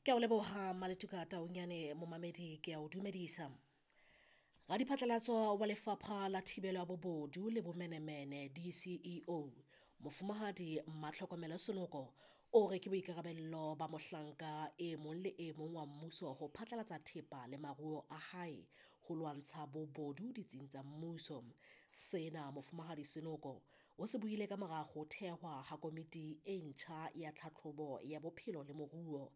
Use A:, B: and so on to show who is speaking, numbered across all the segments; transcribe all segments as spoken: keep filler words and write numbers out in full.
A: Ke a o leboha Maletuka Taunyane momamedi ke a o dumedisa. Radiphatlalatso wa Lefapha la Thibelo ya Bobodu le Bomenemene D C E O, Mofumahadi Matlhokomelo Senoko, o re ke boikarabello ba mohlanka e mong le e mong wa mmuso ho phatlalatsa thepa le maruo a hae ho lwantsha bobodu ditsing tsa mmuso. Sena Mofumahadi Senoko o se buile ka mora ho thehwa ha komiti e ntjha ya tlhatlhobo ya bophelo le moruo.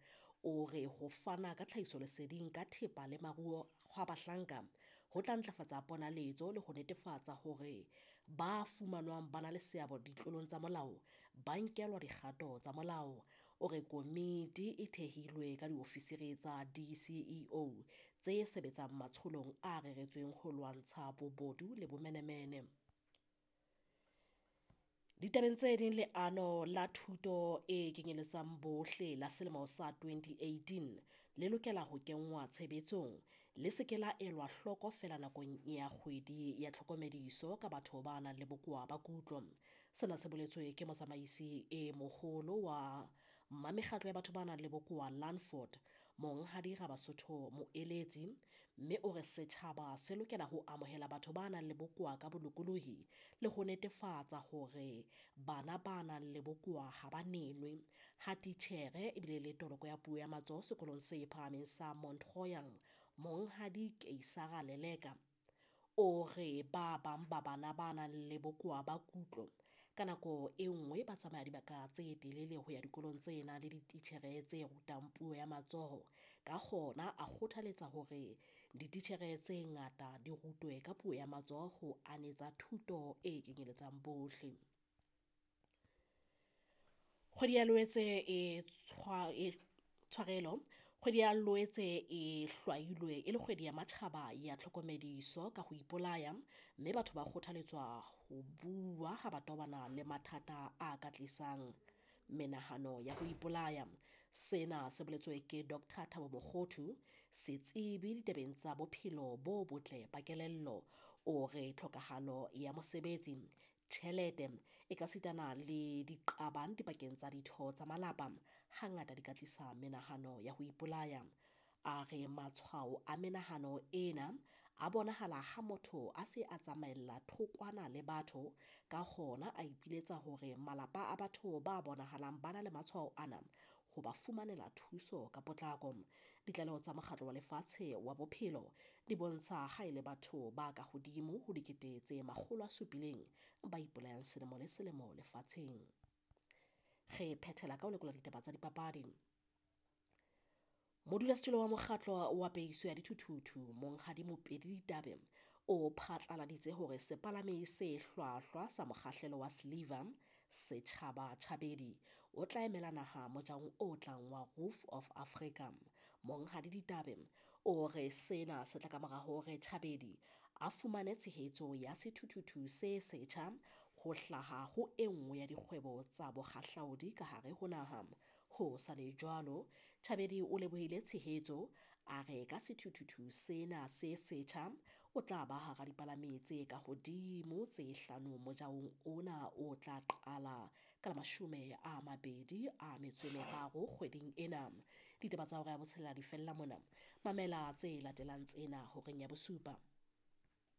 A: O re ho fana ka tlhahisoleseding ka thepa le maruo hwa bahlanka ho tla ntlafatsa ponaletso le ho netefatsa hore ba fumanwang ba na le seabo ditlolong tsa molao ba nkelwa dikgato tsa molao. O re komiti e thehilwe ka diofisiri tsa D C E O tse sebetsang matsholong a reretsweng ho lwantsha bobodu le bomenemene. Ditabeng tse ding, leano la thuto e kenyeletsang bohle la selemo sa twenty eighteen le lokela ho kenngwa tshebetsong, le se ke la elwa hloko feela nakong ya kgwedi ya tlhokomediso ka batho ba nang le bokowa ba kutlo. Sena se boletswe ke motsamaisi e moholo wa mmamekgatlo ya batho ba nang le bokowa Landford, Monghadi Rabasotho Moeletsi, mme o re setjhaba se lokela ho amohela batho ba nang le bokowa ka bolokolohi le ho netefatsa hore bana ba nang le bokowa ha ba nenwe. Ha titjhere ebile le toloko ya puo ya matsoho sekolong se phahameng sa Mount Royal, Monghadi Keisara Leleka, o re ba bang ba bana ba nang le bokowa ba kutlo ka nako e nngwe ba tsamaya dibaka tse telele ho ya dikolong tse nang le dititjhere tse rutang puo ya matsoho. Ka hona a kgothaletsa hore dititjhere tse ngata di rutwe ka puo ya matsoho ho anetsa thuto e kenyeletsang bohle. Kgwedi ya Loetse e tshwa, e tshwarelo Kgwedi ya Loetse e hlwailwe e le kgwedi ya matjhaba ya tlhokomediso ka ho ipolaya, mme batho ba kgothaletswa ho bua ha ba tobana le mathata a ka tlisang menahano ya ho ipolaya. Sena se boletswe ke Doctor Thabo Mokgothu, setsebi ditabeng tsa bophelo bo botle ba kelello. O re tlhokahalo ya mosebetsi, tjhelete e ka sitana le diqabang dipakeng tsa ditho tsa malapa hangata di ka tlisa menahano ya ho ipolaya. A re matshwao a menahano ena a bonahala ha motho a se a tsamaella thokwana le batho, ka hona a ipiletsa hore malapa a batho ba bonahalang ba na le matshwao ana ho ba fumanela thuso ka potlako. Ditlaleho tsa Mokgatlo wa Lefatshe wa Bophelo di bontsha ha e le batho ba ka hodimo ho dikete tse makgolo a supileng ba ipolayang selemo le selemo lefatsheng. Re phethela ka ho lekola ditaba tsa dipapadi. Modulasetulo wa mokgatlo wa peiso ya dithuthuthu Monghadi Mopedi Ditabe o phatlaladitse hore sepalami se hlwahlwa sa mokgahlelo wa Sliver Setjhaba Chabedi o tla emela naha mojahong o tlang wa Roof of Africa. Monghadi Ditabe o re sena se tla ka mora hore Chabedi a fumane tshehetso ya sethuthuthu se setjha ho hlaha ho e nngwe ya dikgwebo tsa bohahlaudi ka hare ho naha. Ho sa le jwalo, Chabedi o lebohile tshehetso, a re ka sethuthuthu sena se setjha o tla ba hara dipalami tse ka hodimo tse hlano mojahong ona o tla qala ka la mashome a mabedi a metso e meraro kgweding ena. Ditaba tsa hora ya botshelela di fella mona. Mamela tse latelang tsena horeng ya bosupa.